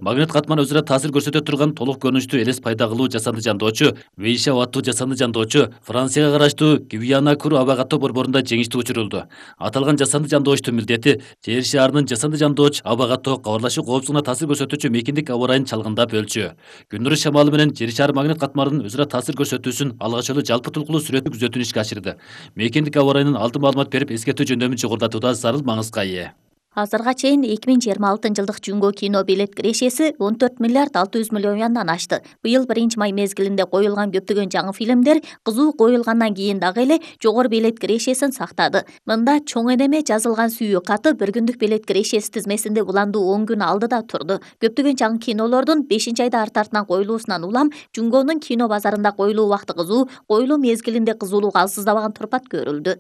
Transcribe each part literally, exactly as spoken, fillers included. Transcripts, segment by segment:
Магнит катман өзүнө таасир көрсөтө турган толук көрүнүштүү элес пайда кылуу жасанды жандоочу Вейшау аттуу жасанды жандоочу Францияга караштуу Гвиана-Кур аба каттоо борборунда жеңиштүү учурулду. Аталган жасанды жандоочтун милдети Жер шаарынын жасанды жандооч аба каттоо кабарлашуу коопсуздугуна таасир көрсөтүүчү мейкиндик аба ырайын чалгындап өлчү. Күндүрүш шамалы менен Жер шаар магнит катмарынын өзүнө таасир көрсөтүүсүн алгач жолу жалпы tulkulуу сүрөттүү күзөтүүнү ишке ашырды. Мейкиндик аба ырайынын алдын маалымат берип эскертүү жөндөмүн жогорулатууда зарыл маңызга ээ. Азырга чейин эки миң жыйырма алтынчы жылдык Жүнгө кино билет кирешеси он төрт миллиард алты жүз миллион юандан ашты. Быйыл биринчи май мезгилинде коюлган көптөгөн жаңы фильмдер кызуу коюлгандан кийин дагы эле жогору билет кирешесин сактады. Мында чоң энеме жазылган сүйүү каты бир күндүк билет кирешеси тизмесинде уландуу он күн алдыда турду. Көптөгөн жаңы кинолордун бешинчи айда арт-артынан коюлуусунан улам Жүнгөнүн кино базарында коюлуу убакыты кызуу, коюлуу мезгилинде кызуулук алсыздабаган турпат көрүлдү.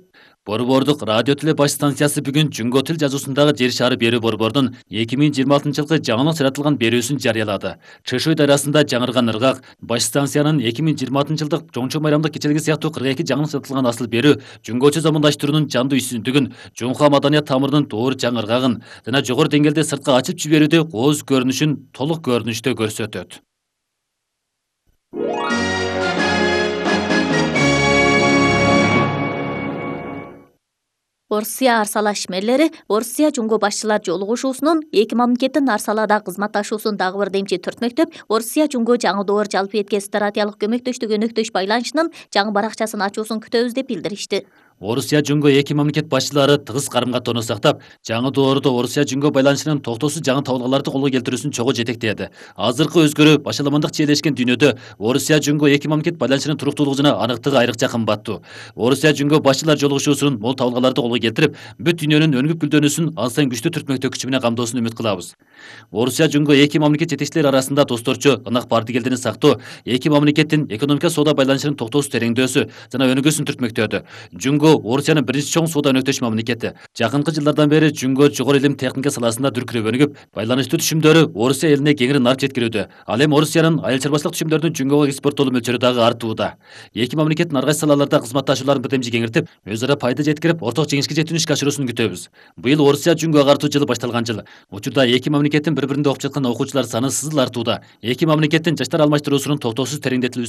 Борбордук радио теле баш станциясы бүгүн Жүнгө тил жазуусундагы Жер шаары берүү борборунун эки миң жыйырма алтынчы жылкы жаңылык жаратылган берүүсүн жарыялады. Чышуй дарасында жаңырган ыргак, баш станциянын эки миң жыйырма алтынчы жылдык жоңчу майрамдык кечелиги сыяктуу кырк эки жаңылык жаратылган асыл берүү Жүнгөчө замандаштыруунун жандуу үйсүндүгүн, Жунха маданият тамырынын доор жаңыргагын жана жогору деңгээлде сыртка ачып жиберүүдө кооз көрүнүшүн толук көрүнүштө көрсөтөт. Орусия арсала ишмерлери Орусия Жүнгө башчылар жолугушуусунун эки мамлекеттин арсалада кызматташуусун дагы бир демчи түртмөктөп, Орусия Жүнгө жаңы доор жалпы этке стратегиялык көмөктөштүк өнөктөш байланышынын жаңы баракчасын ачуусун күтөбүз деп билдиришти. Орусия Жүнгө эки мамлекет башчылары тыгыз карым-катоону сактап, жаңы доордо Орусия Жүнгө байланышынын токтоосуз жаңы табылгаларды колго келтирүүсүн чогуу жетектеди. Азыркы өзгөрүү башаламандык чиелешкен дүйнөдө Орусия Жүнгө эки мамлекет байланышынын туруктуулугу жана аныктыгы айрыкча кымбаттуу. Орусия Жүнгө башчылар жолугушуусунун мол табылгаларды колго келтирип, бүт дүйнөнүн өнүгүп гүлдөнүүсүн ал сайын күчтүү түртмөктөө күчү менен камдоосун үмүт кылабыз. Орусия Жүнгө эки мамлекет жетекчилери арасында досторчу, ынак бардыгелдини сактоо, эки мамлекеттин экономика соода байланышынын токтоосуз тереңдөөсү жана өнүгүүсүн түртмөктөдү. Жүнгө Орусиянын биринчи чоң соода өнөктөш мамлекети. Жакынкы жылдардан бери Жүнгө жогору илим техника саласында дүркүрөп өнүгүп, байланыштуу түшүмдөрү Орусия элине кеңири нарып жеткирүүдө. Ал эми Орусиянын айыл чарбачылык түшүмдөрүнүн Жүнгөгө экспорттолуу мөлчөрү дагы артууда. Эки мамлекеттин ар кайсы салаларда кызматташууларын бирдемжи кеңиртип, өз ара пайда жеткирип, орток жеңишке жетүүнү ишке ашыруусун күтөбүз. Быйыл Орусия Жүнгө агартуу жылы башталган жыл. Учурда эки мамлекеттин бири-биринде окуп жаткан окуучулар саны сызыл артууда. Эки мамлекеттин жаштар алмаштыруусунун токтоосуз тереңдетилүүсүнө